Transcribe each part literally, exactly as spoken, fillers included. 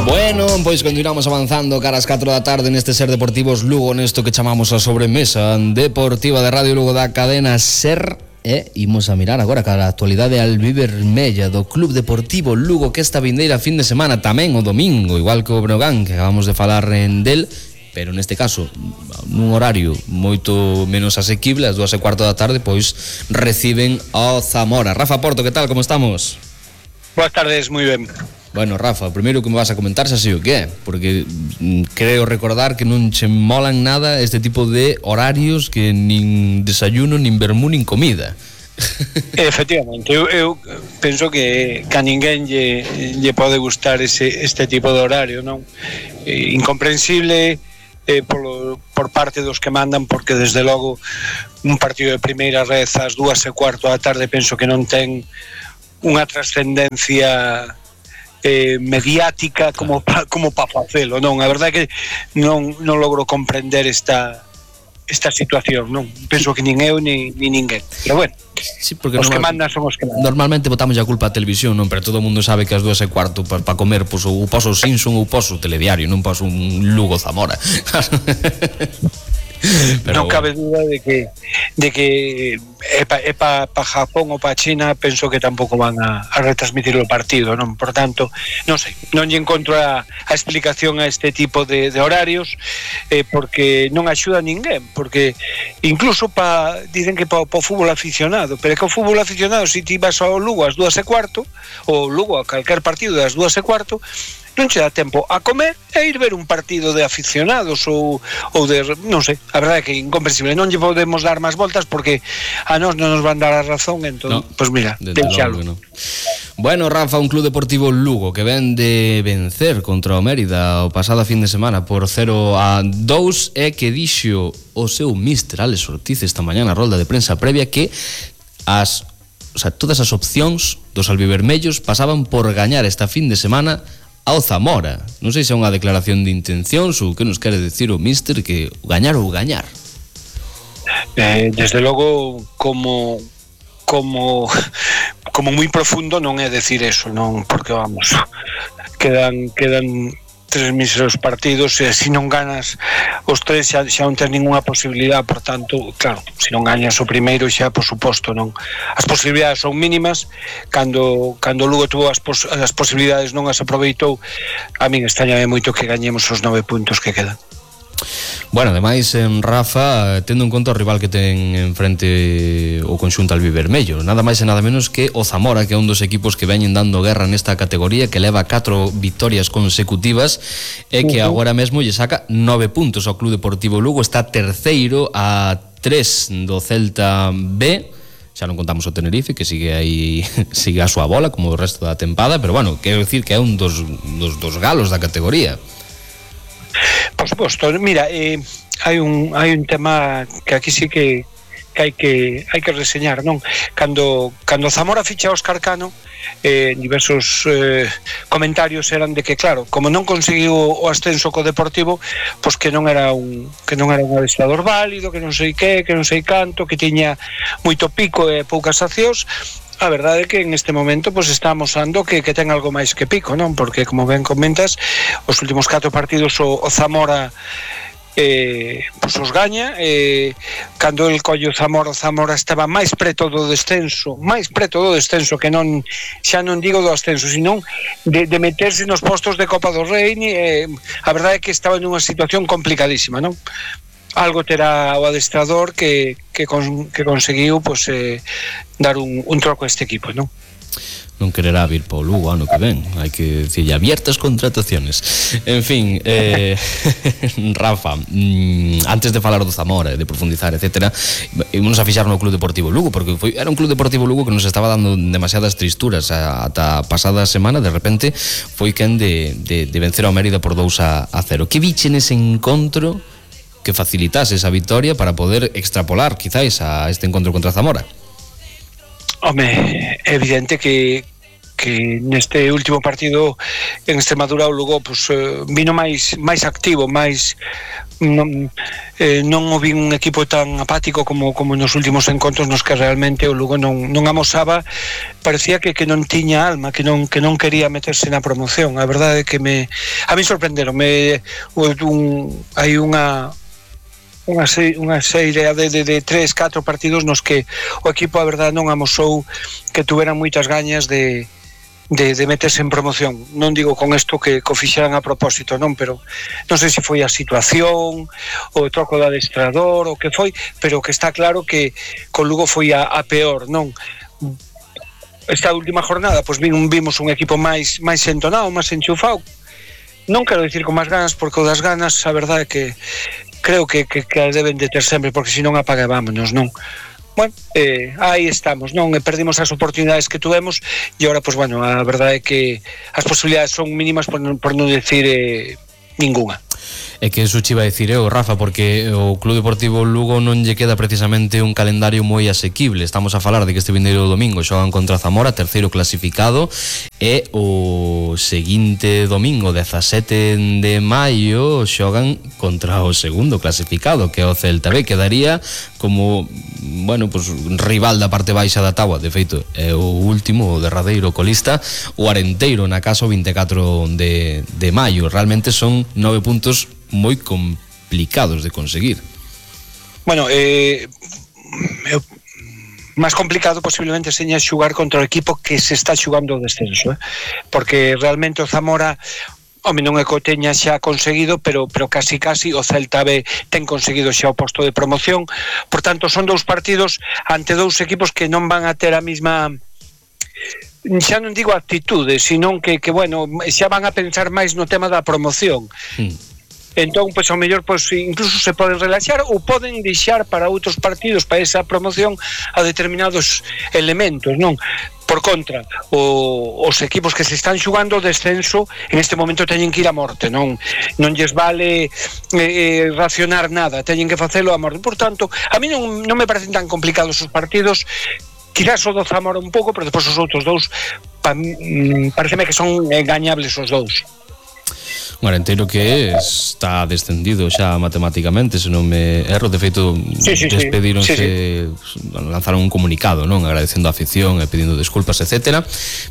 Bueno, pois continuamos avanzando cara ás catro da tarde neste Ser Deportivos Lugo, nesto que chamamos a sobremesa deportiva de Radio Lugo da cadena Ser. E imos a mirar agora cara a actualidade albivermella do Club Deportivo Lugo, que esta vindeira fin de semana tamén o domingo, igual que o Breogán, que acabamos de falar en del, pero neste caso nun horario moito menos asequible, ás dúas e cuarto da tarde, pois reciben ao Zamora. Rafa Porto, que tal, como estamos? Boas tardes, moi ben. Bueno, Rafa, o primeiro que me vas a comentar xa sei o que é, porque creo recordar que non che molan nada este tipo de horarios, que nin desayuno, nin vermú, nin comida. Efectivamente, eu, eu penso que, que a ninguén lle, lle pode gustar ese, este tipo de horario, non? Eh, incomprensible eh, por, por parte dos que mandan, porque desde logo un partido de primeira red ás dúas e cuarto da tarde penso que non ten unha trascendencia eh, mediática como pa, como pa facelo, non? A verdade é que non, non logro comprender esta esta situación, non? Penso que nin eu ni, ni ninguén, pero bueno, sí, porque os normal, que mandan son os que mandan. Normalmente botamos a culpa a televisión, non? Pero todo o mundo sabe que as dúas e cuarto para pa comer, pois, ou paso o Simpson ou paso o Telediario, non paso un Lugo Zamora. Pero non cabe duda de que de que é pa, é pa, pa Japón ou pa China, penso que tampouco van a, a retransmitir o partido, non? Por tanto, non sei, non lle encontro a, a explicación a este tipo de, de horarios, eh, porque non axuda a ninguén, porque incluso pa, dicen que pa, pa o fútbol aficionado, pero é que o fútbol aficionado, se ti vas ao Lugo ás dúas e cuarto, ou Lugo a calquer partido das dúas e cuarto, non che dá tempo a comer e ir ver un partido de aficionados ou, ou de, non sei, a verdade é que é incomprensible, non lle podemos dar máis voltas porque a nós non nos van dar a razón, entón, no, pois pues mira, deixalo. No. Bueno, Rafa, un Club Deportivo Lugo que ven de vencer contra o Mérida o pasado fin de semana por cero a dous, e que dixo o seu míster Alex Ortiz esta mañá na rolda de prensa previa que as, o sea, todas as opcións dos albivermellos pasaban por gañar esta fin de semana ao Zamora. Non sei se é unha declaración de intencións ou que nos quere decir o míster, que gañar ou gañar. Eh, desde logo, como como como moi profundo non é decir eso, non, porque vamos, quedan quedan tres míseros partidos e se non ganas os tres xa, xa non tens ninguna posibilidade, por tanto, claro, se non gañas o primeiro xa, por suposto, non, as posibilidades son mínimas. Cando cando Lugo tuvo as, pos, as posibilidades non as aproveitou, a min extrañame moito que gañemos os nove puntos que quedan. Bueno, ademais, en Rafa, tendo en conta o rival que ten enfrente o conxunto albivermello, nada máis e nada menos que o Zamora, que é un dos equipos que veñen dando guerra nesta categoría, que leva catro vitorias consecutivas e que agora mesmo lle saca nove puntos ao Club Deportivo Lugo. Está terceiro a tres do Celta B. Xa non contamos o Tenerife, que sigue aí sigue a súa bola como o resto da tempada, pero bueno, quero dicir que é un dos, dos, dos galos da categoría. Por suposto, mira, eh, hai un hai un tema que aquí sí que, que hai que hai que reseñar, non? Cando cando Zamora ficha a Óscar Cano, eh, diversos eh, comentarios eran de que, claro, como non conseguiu o ascenso co Deportivo, pois que non era un que non era un adestrador válido, que non sei que, que non sei canto, que tiña moito pico e poucas accións. A verdade é que en este momento pues, está amosando que, que ten algo máis que pico, non? Porque, como ben comentas, os últimos catro partidos o, o Zamora eh, pues, os gaña. Eh, cando el collo Zamora, o Zamora estaba máis preto do descenso, máis preto do descenso, que non xa non digo do ascenso, sino de, de meterse nos postos de Copa do Rei. Eh, a verdade é que estaba nunha situación complicadísima, non? Algo terá o adestrador que, que, con, que conseguiu pues, eh, dar un, un troco a este equipo, non? Non quererá vir para o Lugo ano que ven, hai que dicirlle abiertas contrataciones. En fin, eh, Rafa, mm, antes de falar do Zamora, de profundizar, etcétera, ímonos a fixar no Club Deportivo Lugo, porque foi, era un Club Deportivo Lugo que nos estaba dando demasiadas tristuras. Ata a pasada semana, de repente, foi quen de, de, de vencer ao Mérida por dous a cero. Que biche nese encontro que facilitase esa victoria para poder extrapolar quizás a este encontro contra Zamora? Home, é evidente que que neste último partido en Extremadura o Lugo pues, eh, vino máis máis activo, máis non, eh, non o vi un equipo tan apático como como nos últimos encontros nos que realmente o Lugo non, non amosaba, parecía que, que non tiña alma, que non que non quería meterse na promoción. A verdade é que me a mí sorprenderon, me un, hai unha unha serie, unha serie de, de, de tres, catro partidos nos que o equipo a verdade non amosou que tuveran moitas gañas de, de, de meterse en promoción. Non digo con isto que, que o fixeran a propósito, non, pero non sei se foi a situación o troco do adestrador o que foi, pero que está claro que con Lugo foi a, a peor, non? Esta última jornada pois vimos un equipo máis máis entonado, máis enchufado, non quero dicir con máis ganas, porque o das ganas a verdade é que creo que, que, que deben de ter sempre, porque se non apaga vámonos, non? Bueno, eh, aí estamos, non? E perdimos as oportunidades que tuvemos e agora, pois, bueno, a verdade é que as posibilidades son mínimas por, por non decir eh, ninguna. É que eso che iba a dicir eu, Rafa, porque o Club Deportivo Lugo non lle queda precisamente un calendario moi asequible. Estamos a falar de que este vindeiro domingo xogan contra Zamora, terceiro clasificado, e o seguinte domingo, dezasete de maio, xogan contra o segundo clasificado, que é o Celta B. Quedaría como, bueno, pues, rival da parte baixa da táboa. De feito, é o último, o derradeiro colista, o Arenteiro, na casa o vinte e catro de, de maio. Realmente son nove puntos moi complicados de conseguir. Bueno, eh, eu, máis complicado posiblemente seña xugar contra o equipo que se está xugando o descenso, eh? Porque realmente o Zamora, home, non é que o teña xa conseguido, pero, pero casi casi o Celta B ten conseguido xa o posto de promoción. Por tanto, son dous partidos ante dous equipos que non van a ter a mesma, xa non digo actitude, sino que, que bueno, xa van a pensar máis no tema da promoción. Mm. Entón, pois, ao mellor, pois, incluso se poden relaxar ou poden deixar para outros partidos, para esa promoción, a determinados elementos, non? Por contra, o, os equipos que se están xugando o descenso en este momento teñen que ir a morte, non non lles vale eh, racionar nada, teñen que facelo a morte. Por tanto, a mí non, non me parecen tan complicados os partidos, quizás o do Zamora un pouco, pero depois os outros dous pa, mm, pareceme que son engañables os dous. Un Arenteiro que está descendido xa matemáticamente, se non me erro. De feito, sí, sí, despedironse, sí, sí. Lanzaron un comunicado, non, agradecendo a afición e pedindo desculpas, etcétera.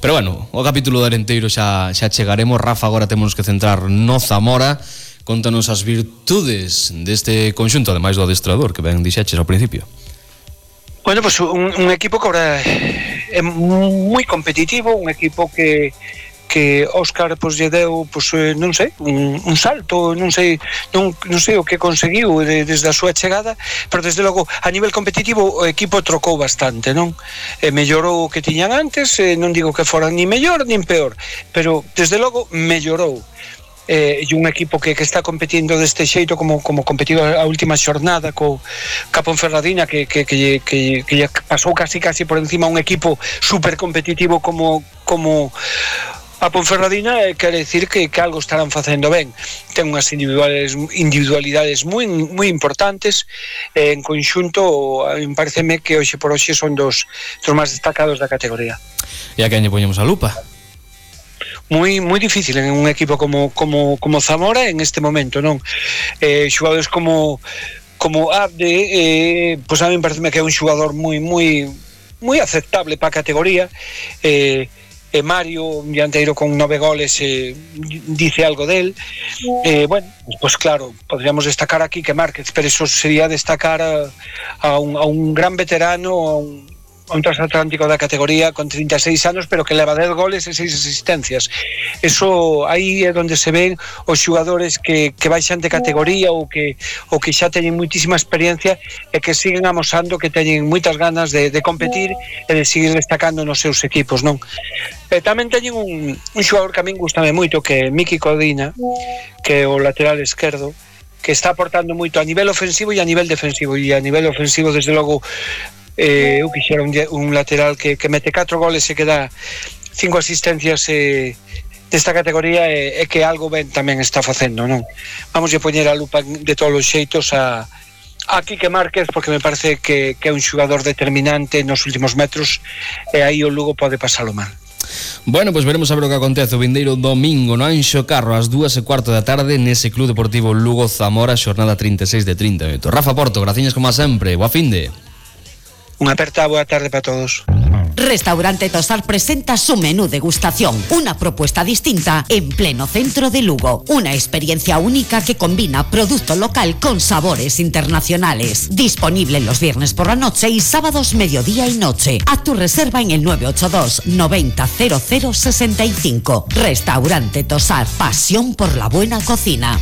Pero bueno, o capítulo de Arenteiro xa, xa chegaremos. Rafa, agora temos que centrar no Zamora. Contanos as virtudes deste conxunto, ademais do adestrador, que ben dixeches ao principio. Bueno, pues un, un equipo que ahora é moi competitivo, un equipo que que Óscar pois lle deu, pois non sei, un, un salto, non sei, non, non sei o que conseguiu de, desde a súa chegada, pero desde logo a nivel competitivo o equipo trocou bastante, non? E mellorou o que tiñan antes, e non digo que fora ni mellor nin peor, pero desde logo mellorou. Eh, e un equipo que, que está competindo deste xeito como, como competido a última xornada co Capón Ferradina, que, que, que, que, que pasou casi casi por encima un equipo super competitivo como como a Ponferradina, eh, quere decir que, que algo estarán facendo ben. Ten unhas individualidades, individualidades moi, moi importantes, eh, en conxunto, a mí pareceme que hoxe por hoxe son dos, dos máis destacados da categoría. E a quen lle poñemos a lupa? Moi moi difícil en un equipo como como como Zamora en este momento, non? Eh, xogadores como como Abde, eh, pois a mí pareceme que é un xogador moi moi moi aceptable para a categoría. Eh, e Mario, un dianteiro con nove goles, eh, dice algo del. Eh, bueno, pues claro, podríamos destacar aquí que Márquez, pero eso sería destacar a, a, un, a un gran veterano, a un, a un transatlántico da categoría con trinta e seis anos, pero que leva dez goles e seis asistencias. Eso aí é onde se ven os xogadores que, que baixan de categoría ou que, ou que xa teñen muitísima experiencia e que siguen amosando que teñen moitas ganas de, de competir e de seguir destacando nos seus equipos, non? E tamén teñen un, un xogador que a min gustame moito, que é Miki Codina, que é o lateral esquerdo, que está aportando moito a nivel ofensivo e a nivel defensivo. E a nivel ofensivo, desde logo, eh, eu quixera un, un lateral que, que mete catro goles e que dá cinco asistencias eh, desta categoría, e, e que algo ben tamén está facendo, non? Vamos a poñer a lupa de todos os xeitos a, a Quique Márquez, porque me parece que, que é un xogador determinante nos últimos metros, e aí o Lugo pode pasalo mal. Bueno, pois pues veremos a ver o que acontece o vindeiro domingo no Anxo Carro ás dúas e cuarto da tarde nese Club Deportivo Lugo Zamora, xornada trinta e seis de trinta minutos. Rafa Porto, graciñas como a sempre, boa finde. Unha aperta boa tarde para todos. Restaurante Tosar presenta su menú degustación, una propuesta distinta en pleno centro de Lugo. Una experiencia única que combina producto local con sabores internacionales. Disponible los viernes por la noche y sábados mediodía y noche. Haz tu reserva en el nueve ocho dos noventa cero cero sesenta y cinco. Restaurante Tosar, pasión por la buena cocina.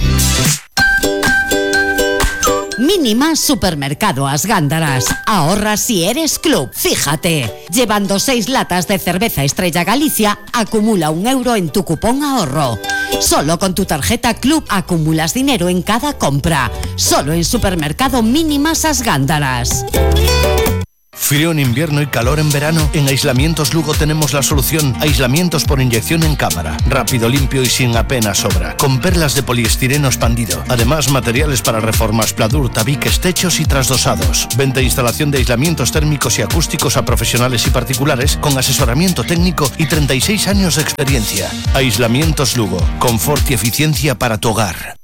Mínima Supermercado As Gándaras. Ahorra si eres club. Fíjate, llevando seis latas de cerveza Estrella Galicia, acumula un euro en tu cupón ahorro. Solo con tu tarjeta Club acumulas dinero en cada compra. Solo en Supermercado Mínimas As Gándaras. Frío en invierno y calor en verano. En Aislamientos Lugo tenemos la solución. Aislamientos por inyección en cámara. Rápido, limpio y sin apenas sobra. Con perlas de poliestireno expandido. Además, materiales para reformas, pladur, tabiques, techos y trasdosados. Venta e instalación de aislamientos térmicos y acústicos a profesionales y particulares con asesoramiento técnico y treinta y seis años de experiencia. Aislamientos Lugo. Confort y eficiencia para tu hogar.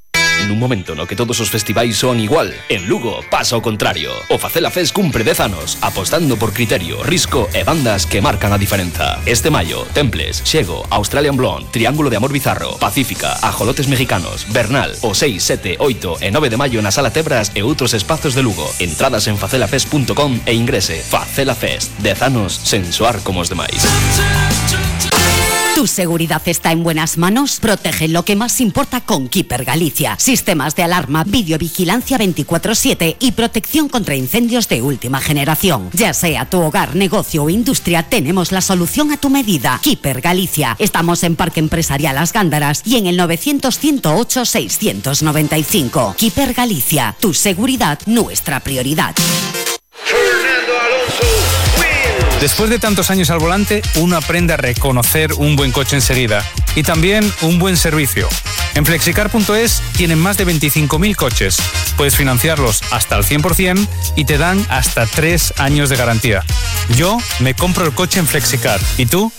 En un momento no que todos os festivais son igual, en Lugo pasa o contrario. O Facela Fest cumpre dez anos, apostando por criterio, risco e bandas que marcan a diferenza. Este maio, Temples, Xego, Australian Blonde, Triángulo de Amor Bizarro, Pacífica, Ajolotes Mexicanos, Bernal, o seis, sete, oito e nove de maio na Sala Tebras e outros espazos de Lugo. Entradas en facela fest punto com e ingrese. Facela Fest, dez anos sen soar como os demais. ¿Tu seguridad está en buenas manos? Protege lo que más importa con Keeper Galicia. Sistemas de alarma, videovigilancia veinticuatro siete y protección contra incendios de última generación. Ya sea tu hogar, negocio o industria, tenemos la solución a tu medida. Keeper Galicia. Estamos en Parque Empresarial As Gándaras y en el novecientos, ciento ocho, seiscientos noventa y cinco. Keeper Galicia. Tu seguridad, nuestra prioridad. Después de tantos años al volante, uno aprende a reconocer un buen coche enseguida y también un buen servicio. En flexicar punto es tienen más de veinticinco mil coches. Puedes financiarlos hasta el cien por ciento y te dan hasta tres años de garantía. Yo me compro el coche en Flexicar. ¿Y tú?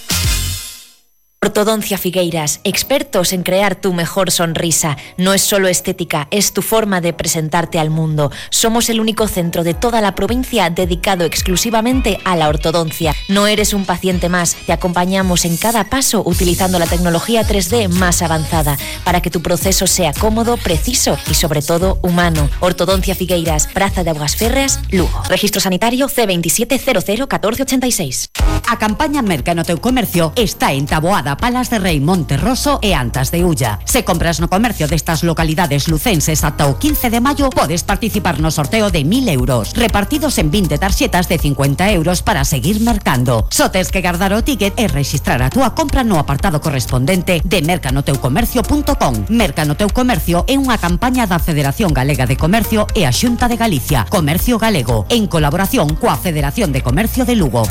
Ortodoncia Figueiras, expertos en crear tu mejor sonrisa. No es solo estética, es tu forma de presentarte al mundo. Somos el único centro de toda la provincia dedicado exclusivamente a la ortodoncia. No eres un paciente más, te acompañamos en cada paso utilizando la tecnología tres D más avanzada para que tu proceso sea cómodo, preciso y sobre todo humano. Ortodoncia Figueiras, Praza de Augas Férreas, Lugo. Registro sanitario C veintisiete cero cero catorce ochenta y seis. A campaña Merca no teu comercio está en Taboada, Palas de Rei, Monterroso e Antas de Ulla. Se compras no comercio destas localidades lucenses ata o quince de maio, podes participar no sorteo de mil euros, repartidos en vinte tarxetas de cincuenta euros para seguir mercando. Só tes que guardar o ticket e registrar a túa compra no apartado correspondente de merca no teu comercio punto com. Merca no teu comercio é unha campaña da Federación Galega de Comercio e a Xunta de Galicia, Comercio Galego, en colaboración coa Federación de Comercio de Lugo.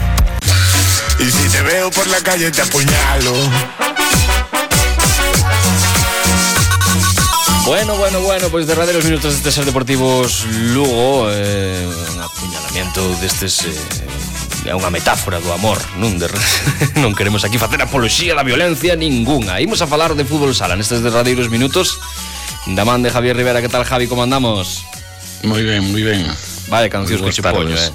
Y si te veo por la calle te apuñalo. Bueno, bueno, bueno, pois pues derradeiros minutos deste Ser Deportivos Lugo, eh, un apuñalamiento destes eh, é unha metáfora do amor, non de, non queremos aquí facer apoloxía da violencia ningunha. Imos a falar de fútbol sala nestes derradeiros minutos da man de Javier Rivera. Que tal, Javi, como andamos? Moi ben, moi ben. Vale, cancións que che poño, eh.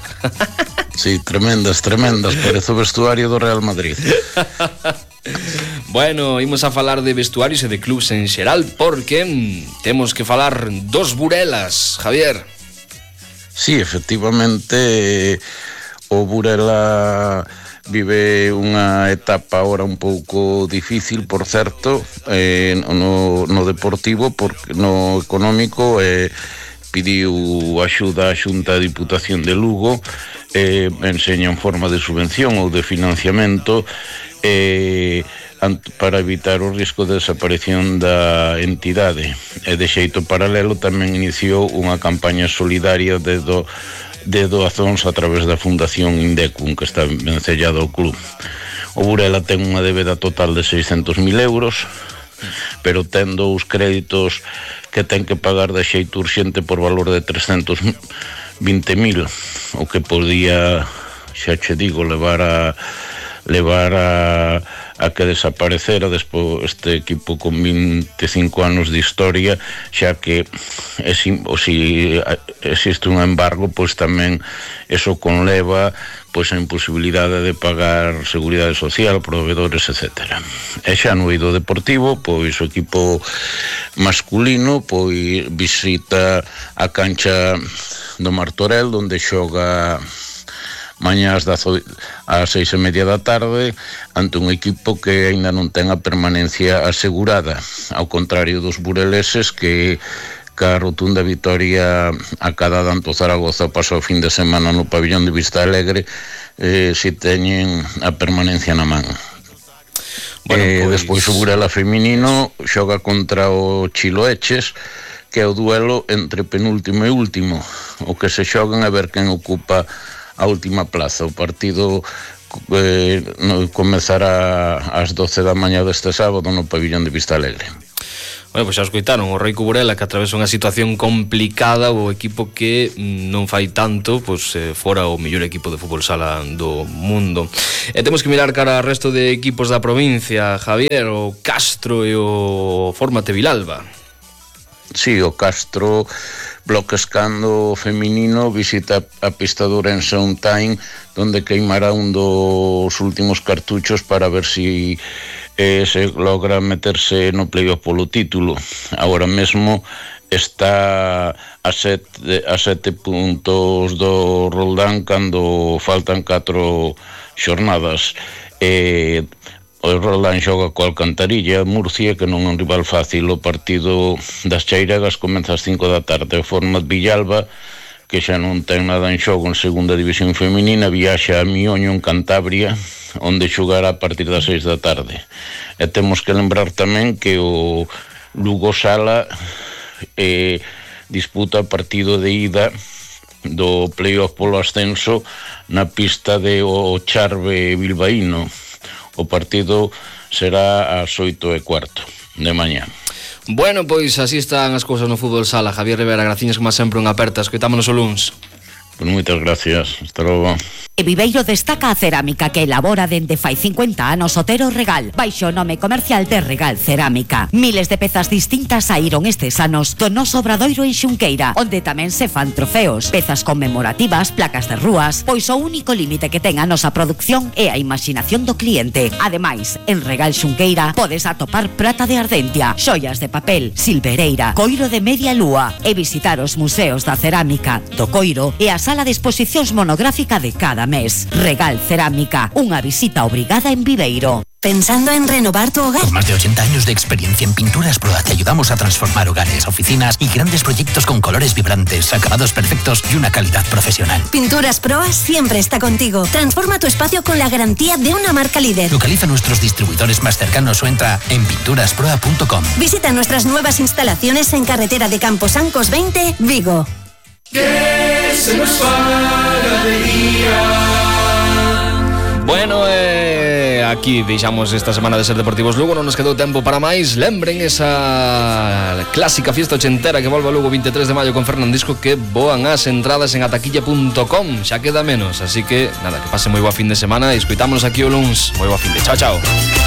Sí, tremendas, tremendas, parece o vestuario do Real Madrid. Bueno, imos a falar de vestuarios e de clubs en xeral porque mm, temos que falar dos Burelas, Javier. Sí, efectivamente, o Burela vive unha etapa ahora un pouco difícil, por certo, eh, no, no deportivo, porque no económico eh, pediu axuda á Xunta de Diputación de Lugo, eh, enseña en forma de subvención ou de financiamento eh, para evitar o risco de desaparición da entidade. E de xeito paralelo tamén iniciou unha campaña solidaria de, do, de doazóns a través da Fundación Indecum, que está vencellado ao club. O Burela ten unha débeda total de seiscentos mil euros, pero tendo os créditos que ten que pagar de xeito urxente por valor de trescentos vinte mil, o que podía, xa che digo, levar a levar a, a que desaparecera despois este equipo con vinte e cinco anos de historia, xa que é, o si existe un embargo, pois tamén eso conleva pois a imposibilidade de pagar seguridade social, proveedores, etcétera. E xa no eido deportivo, pois o equipo masculino pois visita a cancha do Martorell, onde xoga mañá ás seis e media da tarde ante un equipo que aínda non ten a permanencia asegurada, ao contrario dos bureleses que ca rotunda vitoria acadada ante o Zaragoza pasou o fin de semana no pabillón de Vista Alegre, eh, si teñen a permanencia na man. Bueno, eh, pues... despois o Burela feminino xoga contra o Chiloeches, que é o duelo entre penúltimo e último, o que se xogan a ver quen ocupa a última plaza. O partido eh, no, comezará ás doce da mañá deste sábado no pabillón de Vista Alegre. Bueno, pois xa escoitaron o Reico Burela, que atravesa unha situación complicada, o equipo que non fai tanto, pois eh, fora o mellor equipo de fútbol sala do mundo. E temos que mirar cara ao resto de equipos da provincia, Javier, o Castro e o Fórmate Vilalba. Sí, o Castro Bloquescando feminino visita a pista de Ourense on time, donde queimará un dos últimos cartuchos para ver si eh, se logra meterse no playoff polo título. Agora mesmo está a sete, a sete puntos do Roldán cando faltan catro xornadas. E o Roldán xoga co Alcantarilla, Murcia, que non é un rival fácil. O partido das Chairegas comeza ás cinco da tarde. O Format Villalba, que xa non ten nada en xogo en segunda división feminina, viaxa a Mioño, en Cantabria, onde xogará a partir das seis da tarde. E temos que lembrar tamén que o Lugo Sala eh, disputa o partido de ida do playoff polo ascenso na pista de o Charve Bilbaíno. O partido será ás oito e cuarto de mañá. Bueno, pois así están as cousas no fútbol sala. Javier Rivera, graciñas como sempre, unha aperta. Escoitámonos o luns. Pues moitas gracias. Hasta logo. E Viveiro destaca a cerámica que elabora dende fai cincuenta anos Otero Regal, baixo o nome comercial de Regal Cerámica. Miles de pezas distintas saíron estes anos do noso obradoiro en Xunqueira, onde tamén se fan trofeos, pezas conmemorativas, placas de rúas, pois o único límite que ten a nosa produción é a imaginación do cliente. Ademais, en Regal Xunqueira podes atopar prata de Ardentia, xoias de papel, silvereira, coiro de media lúa e visitar os museos da cerámica, do coiro e a sala de exposicións monográfica de cada mes. Regal Cerámica, unha visita obrigada en Viveiro. ¿Pensando en renovar tu hogar? Con más de ochenta años de experiencia en Pinturas Proa te ayudamos a transformar hogares, oficinas y grandes proyectos con colores vibrantes, acabados perfectos y una calidad profesional. Pinturas Proa siempre está contigo. Transforma tu espacio con la garantía de una marca líder. Localiza nuestros distribuidores más cercanos o entra en pinturas proa punto com. Visita nuestras nuevas instalaciones en carretera de Camposancos veinte, Vigo. Que se nos faga de día. Bueno, eh, aquí deixamos esta semana de Ser Deportivos Lugo. Non nos quedou tempo para máis. Lembren esa clásica fiesta ochentera que volve a Lugo vinte e tres de maio con Fernandisco, que voan as entradas en ataquilla punto com. Xa queda menos, así que nada, que pase moi boa fin de semana e escoitámonos aquí o luns. Moi boa fin de. Chao, chao.